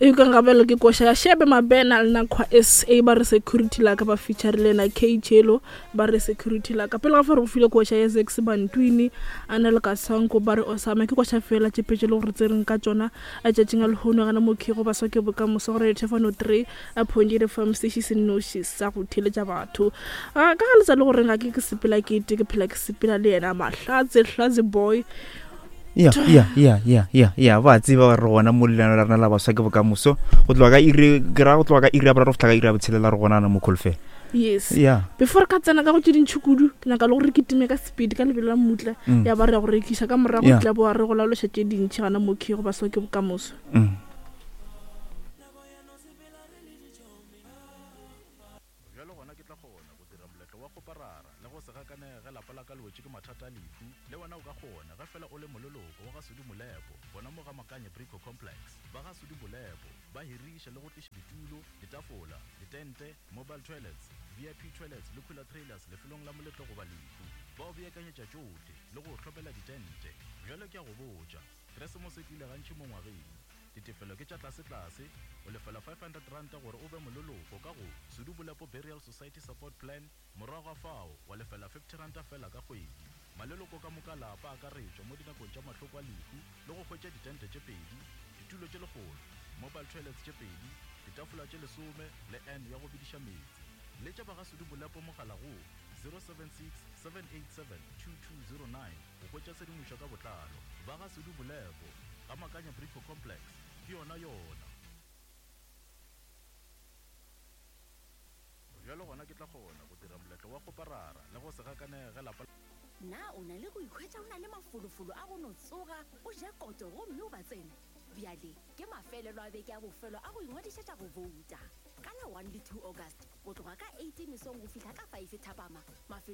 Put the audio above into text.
E ka ngabelo ke koša ya Shebe Mabena le Nakhwa SA ba re security la ka ba feature le na K Chelo ba re security la ka pele ga fa re go file koša ya Zex Bantwini a na le Kasanko ba re Osama ke koša fela tše pedi le gore tsereng ka tšona a tšatšing a lehono gana mo kego baswa ke bokamoso gore thefano 3 a point eight fm sešhi se nnoši sa go theletša batho a ka ga letsa le gore ga ke ke sepela ke te ke phela ke sepela le yena mahlatse hlatse boy ya ya ya ya ya ya ba tseba gore re gona mo lenano la rena la baswa ke bokamoso go tloga ka iri ke ra go tloga ka iri ya boraro go fihla ka iri ya botshelela re gonana mo kholofela yes ya before re ka tsena ka go tše dintšhi kudu ke nyaka le gore ke time ka speed ka lebelo la mmutla mm. ya ba re ya go rekiša ka morago yeah. tla boa re go laološa tše dintšhi gana mo key go baswa ke bokamoso mm. Bjalo gona ke tla kgona go dira moletlo wa kgoparara le go se gakanege ge lapa la ka le wetše ke mathata a lehu. Le wena o ka kgona ge fela o le moleloko wa ga Sudi Molepo gona mo ga Makanye Brico Complex. Ba ga Sudi Molepo ba hiriša le go tliša ditulo, ditafola, ditente, mobile toilets, VIP toilets le cooler trailers lefelong la moletlo goba lehu. Ba o beakanyetša tšohle le go o hlomela ditente. Bjalo ke a go botša, Keresemose e tlile gantši mo ngwageng. Ditefelo ke tša tlasetlase, o lefela R500 gore o be moleloko ka go Sudu Bolepo Burial Society Support Plan, morago ga fao wa lefela R50 feela ka kgwedi. Maleloko ka moka a lapa a akaretšwa mo dinakong tša mahloko a lehu le go hwetša ditente tše pedi, ditulo tše lekgolo, mobile toilets tše pedi, ditafola tše lesome le urn ya go bediša meetse. Letša ba ga Sudu Bolepo mogala go 076 787 2209. Go hwetša tshedimošo ka botlalo, ba ga Sudu Bolepo, ga Makanya Brico Complex, ke yona yona. Bjalo gona ke tla kgona go dira moletlo wa kgoparara le go se gakanege ge lapa. Na o na le go ikhwetša o na le mafolofolo a go no tsoga, o je koto gomme o ba tsene? Bjale ke mafelelo a beke a bofelo a go ingwadišetša go bouta. Ka la 1 le 2 August, go tloga ka 8 mesong go fihla ka 5 thapama, mafelo.